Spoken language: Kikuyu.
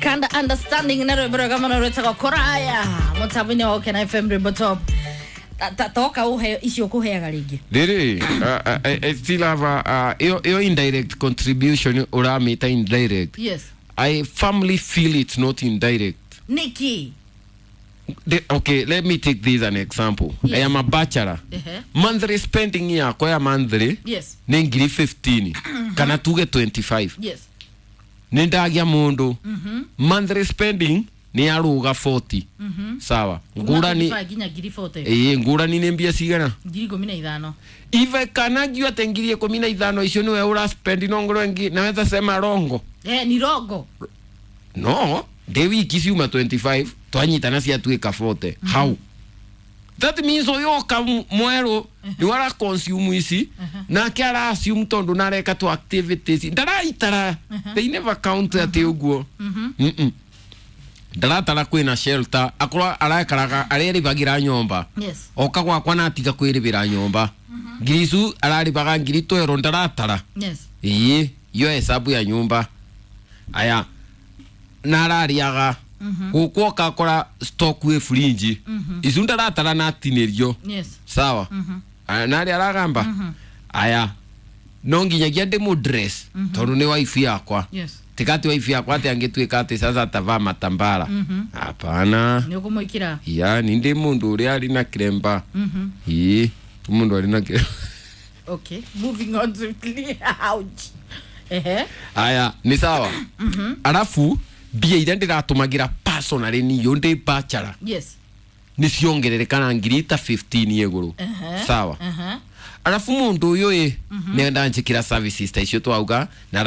Kanda understanding na rwimbo rwega muno rwitagwo Kuraya mutambo-inĩ wa Ũkena FM Rwimbo Top. Toka uhe icio ukuheaga rĩngĩ. Riri, I still have a your indirect contribution uramita indirect. Yes. I firmly feel it's not indirect. Niki. Okay, let me take this an example. Yes. I am a bachelor. Ehe. Monthly spending yakwa ya monthly nĩ ngiri 15 kana tuge 25. Yes. Nĩ ndagia mũndũ monthly spending nĩ yaruga 40. Sawa. Ngũrani 25 nginya ngiri 40. ĩĩ ngũrani nĩ mbia cigana? Ngiri 15. Ive kana ngiu ate ngiri 15 icio niwe ura spend no ngoro ngi naweza sema rongo. Eh, ni rongo. No, ndĩ wiki ciuma 25 twanyitana ciatuĩka 40. How? That means ũyũ oka mwerũ nĩwe ara consume ici nake ara assume tondũ nareka tu activities ndaraitara, they never count atĩ ũguo. Mm-mm. Ndaratara kwĩna shelter akorwo arekaraga arerĩbagĩra nyũmba. Yes. Oka gwakwa na atiga kwĩrĩbĩra nyũmba ngiri icu ararĩbaga ngiri twero ndaratara. Yes. Ĩĩ iyo hesabu ya nyumba aya na arariaga gũkũ okakora stock wĩ fridge icu ndaratara natinĩrio. Yes. Sawa. Aya, narĩ aragamba aya no nginyagia ndĩmũ dress tondũ nĩ wife yakwa. Yes. Tikati wife yakwa atĩ angĩtuĩka atĩ sasa atavaa matambara, hapana. Nĩ ũkũmwĩkĩra. Ya ni ndĩ mũndũ ũrĩa arĩ na kiremba. Ĩĩ mũndũ arĩ na kiremba. Okay. Moving on swiftly. Ouch. Ehe. Aya nĩ sawa. Arabu mbia iria ndĩratũmagĩra personally niyo ndĩ bachelor nĩ ciongerereka na ngiri ta 15 igũrũ. Sawa. Aha. Arabu mũndũ ũyũ ĩ nĩ ndanjĩkĩra services ta icio twauga na